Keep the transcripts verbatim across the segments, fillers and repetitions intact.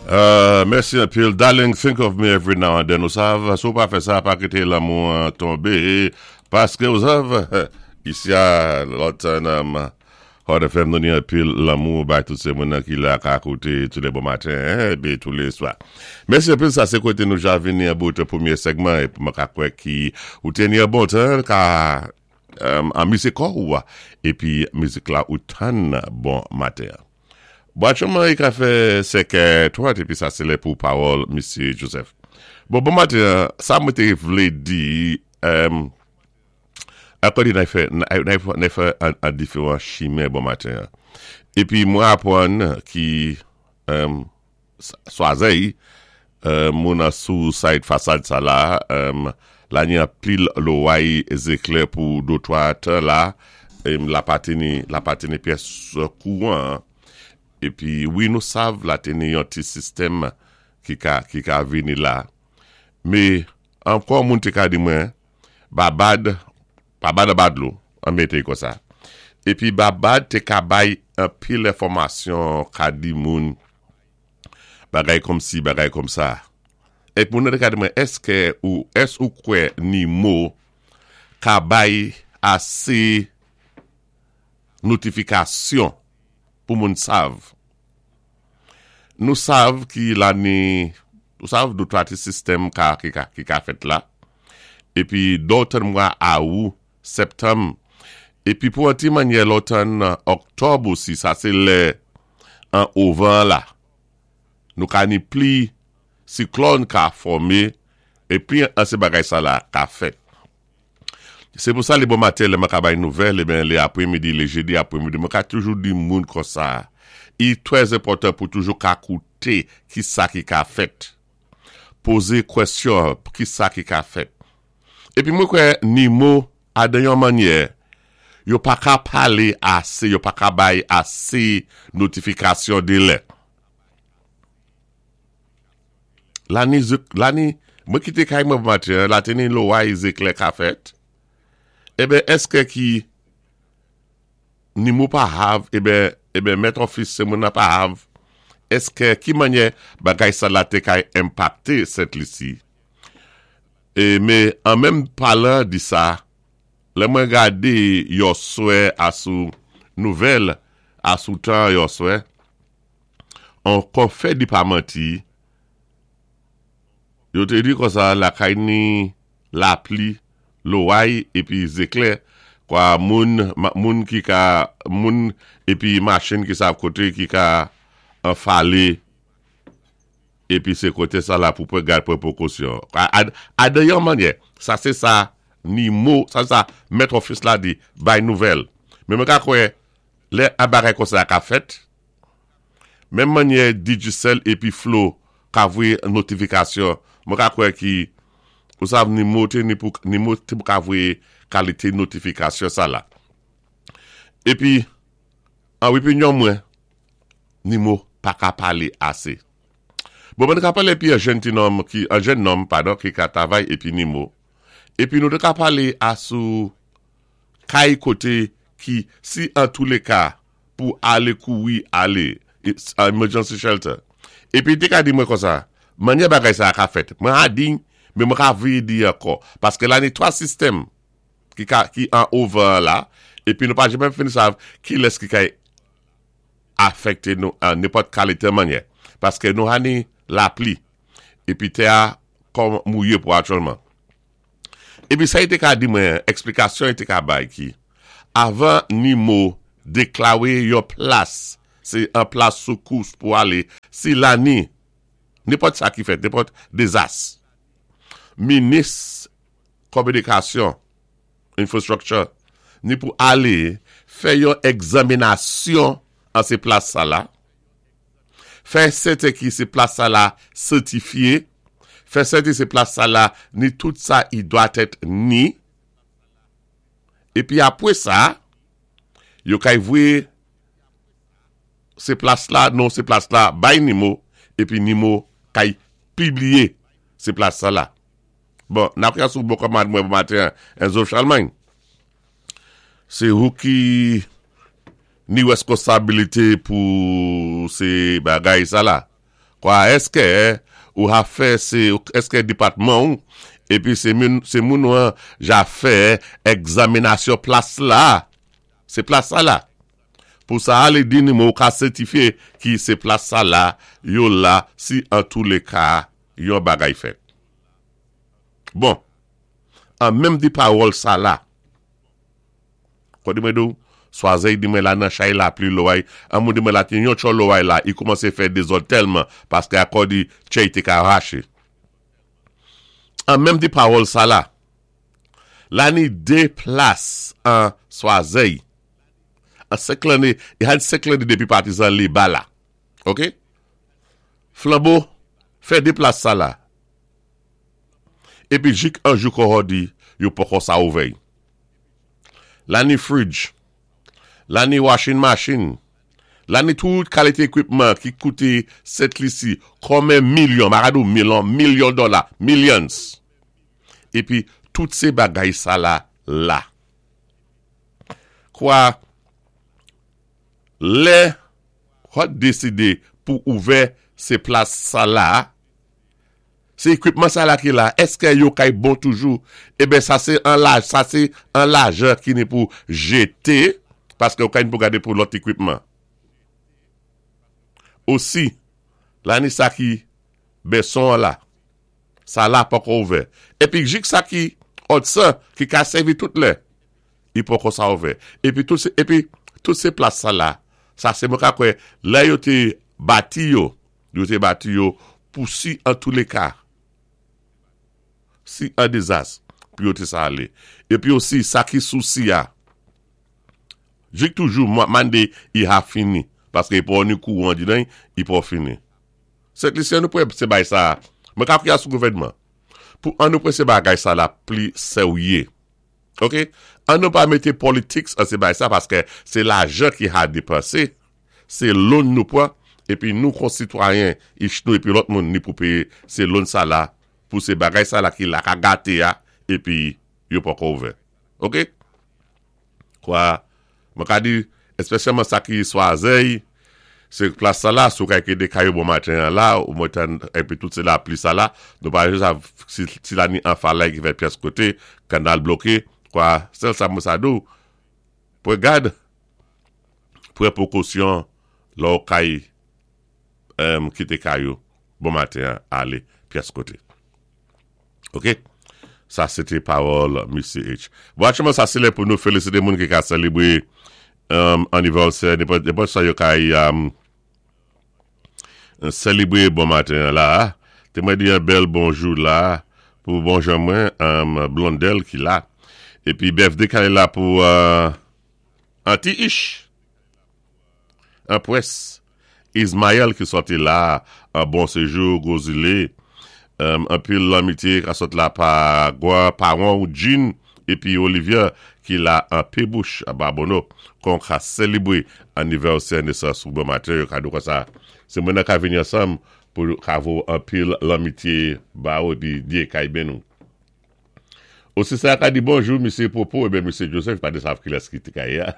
Euh, mèsi anpil. Darling, think of me every now and then. Ou sav, si ou pa fè sa, pa kité lanmou tonbé. Paské ou sav, isi a lòt nan Hot F M, nou ni anpil lanmou bay tout sé moun ki la ka kouté tou lé bon maten, épi tou lé swa. Mèsi anpil, sa sé koté nou ja vini an bout pwémyé segman, épi mwen ka kwè ki ou té ni an bon tan, ka an mizik kò ou, épi mizik la ou tann bon maten. Bon, aktyèlman, i ka fè senkè trant, épi sa sé lè pou pawòl Misye Joseph. Bon, bon maten, sa mwen té vlé di, akò di nan fè, nan fè an diferan chimen bon maten. Épi mwen apwann ki swazèy, moun an sou side fasad sa la, la ni an pil loway zéklè pou dotwa tan la, la patini, la patini pyès kouwan. Épi, wi, nou sav la té ni yon ti sistèm ki ka, ki ka vini la. Mé, ankò moun té ka di mwen, Babad, Babad a badlou, an mété kon sa. Épi Babad té ka bay an pil enfòmasyon ka di moun, bagay kòm si, bagay kòm sa. Épi moun té ka di mwen, èské ou, ès ou kwè NIMO ka bay asé notifikasyon pou moun sav? Nou sav ki la ni, nou sav dou twa ti sistèm ka, ki ka, ki ka fèt la. Épi dòtan mwa awou, septanm, épi pou an ti manyè lòtan oktòb osi, sa sé lè an ovan la. Nou ka ni pli siklòn ka fòmé, épi an sé bagay sa la ka fèt. Sé pou sa lé bon maten, lè mwen ka bay nouvèl, eh ben, lé apwémidi, lé jédi apwémidi, mwen ka toujou di moun kon sa. I twè enpòtan pou toujou ka kouté ki sa ki ka fèt. Pozé kwèsyon ki sa ki ka fèt. Épi mwen kwè NIMO a de yon manyè, yo pa ka palé asé, yo pa ka bay asé notifikasyon dé lè. La ni, la ni, mwen kité kay mwen maten, la té ni loway zéklè ka fèt. Eh ben, èské ki NIMO pa hav, eh ben, eh ben, Met Office sé moun nan pa hav, èské ki manyè bagay sa la té kay enpakté Sent Lisi? É, mé, an menm palan di sa, lè mwen gadé yèswè asou nouvèl, asou tan yèswè, an kon fè di pa manti, yo té di kon sa, la kay ni lapli, loway, épi zéklè, kwa moun, moun ki ka, moun, épi machin ki sa koté, ki ka anfalé, épi sé koté sa la pou pran gad pran pwékosyon. A, a de yon manyè, sa sé sa, NIMO, sa sa, Met Office la di, bay nouvèl. Mé mwen ka kwè, lè an bagay kon sa ka fèt, menm manyè Digicel épi Flow ka voyé notifikasyon, mwen ka kwè ki, ou sav NIMO té ni pou, NIMO té pou ka voyé kalité notifikasyon sa la. Épi, an opinyon mwen, NIMO pa ka palé asé. Bon, mwen ka palé épi an jèn ti nonm, ki, an jèn nonm, padon, ki ka travay épi NIMO. Épi nou té ka palé asou kay koté ki, si an tou lé ka, pou alé kouri alé, emergency shelter. Épi té ka di mwen kon sa, manyè bagay sa ka fèt. Mwen a di, mé mwen ka vle di ankò. Paské la ni twa sistèm ki, ka, ki an over la, épi nou pa janm fin sav ki lès ki kay afekté nou an nenpòt kalité manyè. Paské nou a ni lapli, épi tè a kòm mouyé pou aktyèlman. Épi sa té ka di mwen, èsplikasyon té ka bay ki, avan NIMO déklaré yon plas, sé an plas soukous pou alé, si la ni, nenpòt sa ki fèt, nenpòt dézas, minis kominikasyon, infrastructure, ni pou alé fè yon egzaminasyon an sé plas sa la, fè sèten ki sé plas sa la sètifyé, fè sèten sé plas sa la ni tout sa i dwa èt ni, épi apwé sa, yo kay voyé sé plas la, non sé plas la bay NIMO, épi NIMO kay pibliyé sé plas sa la. Bon, n ap sou bon kòmand mwen bon maten, Enzo Charlemagne. Sé ou ki ni responsabilité pou sé bagay sa la. Kwa èskè ou ha fè sé, èskè dépatman ou, épi sé moun, sé moun an ja fè egzaminasyon plas la, sé plas sa la. Pou sa alé di ni mwen ou ka sètifié ki sé plas sa la, yo la, si an tou lé ka, yon bagay fèt. Bon, an menm di pawòl sa la, kwa di mwen dou, swazey di mwen la nan chay lapli loway, an moun di mwen la ti yon cho loway la, i koumansé fè dézòd tèlman, paské akò di chay té ka raché. An menm di pawòl sa la, la ni dé plas an Swazey, an senk lanné, i han senk lanné dépi patizan li ba la. Ok? Flambeau, fè dé plas sa la. Épi jik an jou kò di, yo poko sa ouvè. La ni fridge, la ni washing machine, la ni tout kalité équipement ki kouté Sent Lisi, konmen milyon, m pa ka di ou milyon, milyon dola, millions. Épi, tout sé bagay sa la, la. Kwa, lè, hot désidé pou ouvè sé plas sa la, sé équipement sa la ki la, èskè yo kay bon toujou? Eben sa sé an laj, sa sé an lajan ki ni pou jété, paské yo kay ni pou gadé pou lòt équipement. Osi, la ni sa ki beson la, sa la poko ouvè. Épi jik sa ki Hudson, ki ka sèvi tout lè, i poko sa ouvè. Épi tout sé, épi tout sé plas sa la, sa sé mwen ka kwè, lè yo té bati yo, yo té bati yo pou si an tou lé ka, si an dézas, pou yo té sa alé. Épi osi, sa ki sousi ya, jik toujou, mandé i ha fini, paské i pou ni kouwan di nan, i pou fini. Sent Lisyen nou pou sé bay sa, mwen ka kwiyé sou gouvèdman, pou an nou pou sé bagay sa la pli sèwyé. Ok? An nou pa mété politics an sé bay sa, paské sé lajan ki ha dépansé, sé loan nou pwan, épi nou kon sitwayen, ich nou épi lòt moun ni pou péyé, sé loan sa la, pou sé bagay sa la ki la ka gaté ya, épi yo poko ouvè. Ok? Kwa, mwen ka di, espesyalman sa ki Swazey, sé plas sa la, sou kay kédé kay yo bon maten an la, ou mwen tan, épi tout sé lapli sa la, nou pa jis si, si la ni an falay ki fè pyès koté, kanal bloké, kwa, sèl sa mwen sa dou, pou gad, pou prekosyon, lò kay, um, kité kay yo, bon maten an, alé, pyès koté. Ok? Sa, sé té pawòl Misye H. Bon, aktyèlman, sa sé lè pou nou félisité moun ki ka sélébwé um, anivèsè, nenpòt sa yo kay um, sélébwé bon maten la. Té mwen di yon bèl bonjou la pou bon jan mwen, um, Blondel ki la. Épi birthday kay la pou uh, Anti Ish. An pwès. Ismaël ki sòti la an bon séjou Gozile. Um, anpil lanmitié ka sot la pa Gwa, Paron ou Jean épi Olivier ki la an Pébouche à Babonneau kon ka sélébwé anivèsè nesans ou bon maten yo ka dou kon sa. Sé moun nan ka vini ansanm pou ka vo anpil lanmitié ba ou épi Dyé kay béni nou. Osi sa ka di bonjou, Misye Popo, eben Misye Joseph, pa de sav ki lès ki te kay ya.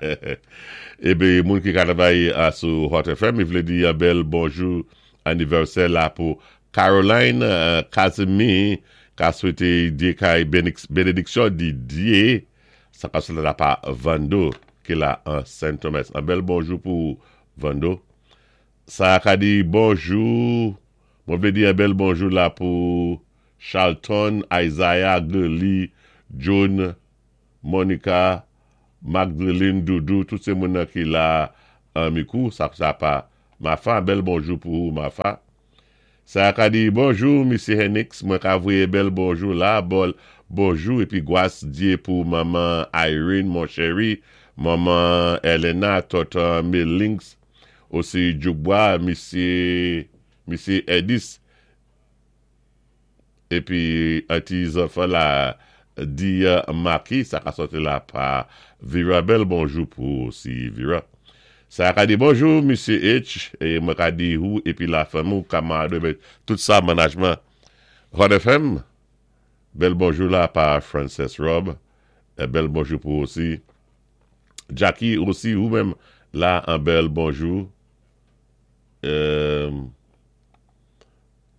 Eben, moun ki ka travay a sou Hot F M, i vlé di yon bèl bonjou anivèsè la pou Caroline uh, Casimir, ka swété Dyé kay bénédiksyon di Dyé, sa ka swété la pa Vando, ki la an Saint Thomas. An bèl bonjou pou Vando. Sa ka di bonjou, mwen vlé di yon bèl bonjou la pou Charlton, Isaiah, Gurley, John, Monica, Magdalene, Doudou, tout sé moun nan ki la an mikou, sa sa pa Mafa, bèl bonjou pou ou, Mafa. Sa ka di bonjou, Misye Henix, mwen ka voyé bèl bonjou la, bol, bonjou, épi gwas Dyé pou maman Irene, mon chéri, maman Elena, tonton Melings, osi Djoubwa, Misye, Misye Edis, épi anti zanfan la di uh, Maki, sa ka sòti la pa Vira, bèl bonjou pou osi Vira. Sa ka di bonjou, Misye H, é mwen ka di ou, épi la fanmi ou, kamarad, tout sa, management Hot F M, bèl bonjou la pa Frances Rob, é bèl bonjou pou osi Jackie osi, ou menm la, an bèl bonjou. Euh,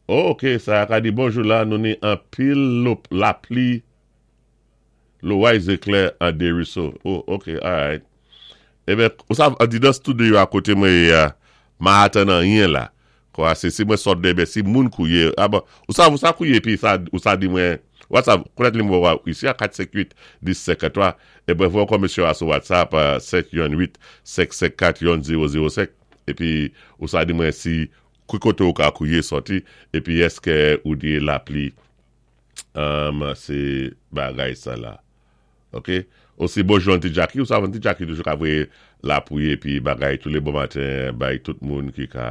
Oh, ok, sa ka di bonjou la, nou ni anpil lapli loway zéklè an Desruisseaux. Oh, ok, alright. Ében, ou sav, an di dan studio a koté mwen ya, ma atan nan yen la. Kwa, sé si mwen sot de, ben, si moun kouye, ah bon, ou sa, ou sa kouye, pi sa, ou sa di mwen, WhatsApp, konèt nimewo a isi a kat senk uit dis senkantwa, e ben, voye kon mesye a sou WhatsApp, sèt youn uit senk senk kat youn zewo zewo senk, epi, ou sa di mwen si, ki koté ou ka kouye soti, epi èské ou di lapli, um, sé bagay sa la. Ok? Osi bonjou Auntie Jackie, ou sa Auntie Jackie toujou ka voyé lapouye epi bagay tou lé bon maten bay tout moun ki ka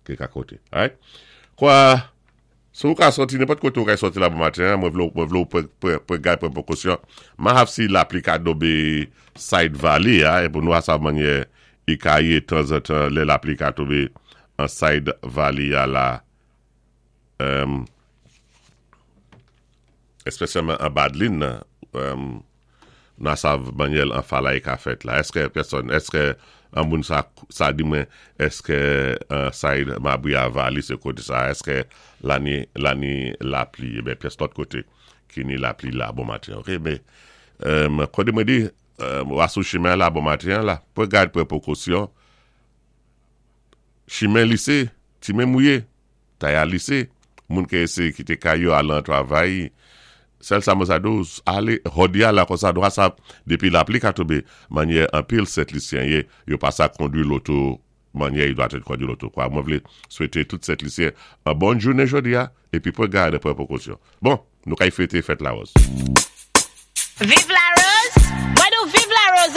ki ka koté. Alright? Kwa, si ou ka soti, nenpòt koté ou ka soti la bon maten, mwen vlé mwen vlé ou pran gad pran pwékosyon. Ma hav si lapli ka tonbé side valley a, e pou nou a sav manyè i ka yé tanzantan lè lapli ka tonbé an side valley a la. Um, espesyalman an Badlin nan, um, nan sav manyè an falay ka fèt la. Èské pèsòn, èské an moun sa, sa di mwen, èské uh, side Mabouya Valley sé koté sa, èské la ni, la ni lapli, ében pyès lòt koté ki ni lapli la bon maten, ok? Mé, um, koté mwen di, um, ou sou chimen la bon maten la, pran gad pran pwékosyon, chimen lisé, ti men mouyé, taya lisé, moun ki éséyé kité kay yo al an travay, sèl sa mwen sa do, alé, jòdi a la kon sa do a sa, dépi lapli ka tonbé, manyè anpil Sent Lisyen yé, yo pa sa kondwi loto, manyè yo dwa tèt kondwi loto. Kwa, mwen vlé swété tout Sent Lisyen an bon jounen jòdi a, épi pran gad pran pwékosyon. Bon, nou kay fêté fèt Larose. Viv Larose! Mwen nou viv Larose.